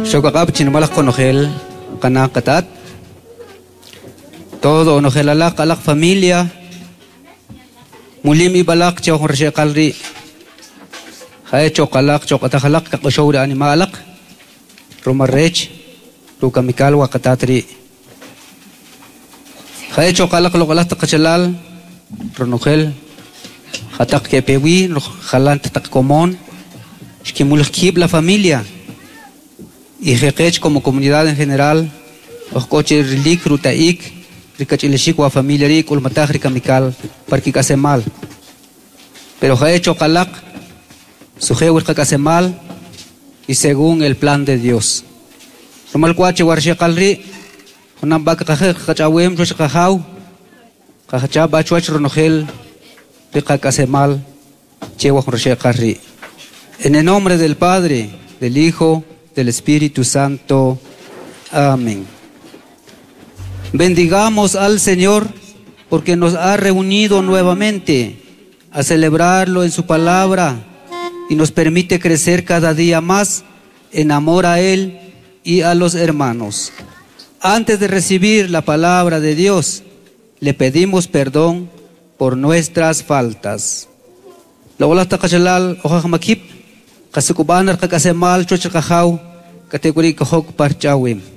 Xokaq'ab' chinimalaj qonojel qana' qatat, todo onojel alaq alaq familia, mulim ib' alaq che jun raxeqal ri', jae choqalaq choq'ataj alaq kaq'oxow ri anima' alaq, rumal rech rukamikal wa qatat ri'. Jae choqalaq loq'alaj taq qachalal, ronojel jataq kepewi jalan taq komon, xkimulij kib' la familia y jeqech como comunidad en general, oj k'o che rilik ruta'ik rikach'ilixik wa familia ri' k'ulmataj rikamikal par kik'aslemal. Pero jae choqalaq sujew qak'aslemal y según el plan de Dios. Rumal k'wa che warxeqal ri' junam b'a qaqaj qach'awem chuwach qajaw qajacha b'a chuwach ronojel riqak'aslemal che wa jun raxeqal ri'. En el nombre del Padre, del Hijo, del Espíritu Santo. Amén. Bendigamos al Señor porque nos ha reunido nuevamente a celebrarlo en su palabra y nos permite crecer cada día más en amor a Él y a los hermanos. Antes de recibir la palabra de Dios, le pedimos perdón por nuestras faltas. Loq'alaj taq qachalal oj ajmakib', qasuk'ub'an qak'aslemal chuwach qajaw, katek'uri' kojok par ch'awem.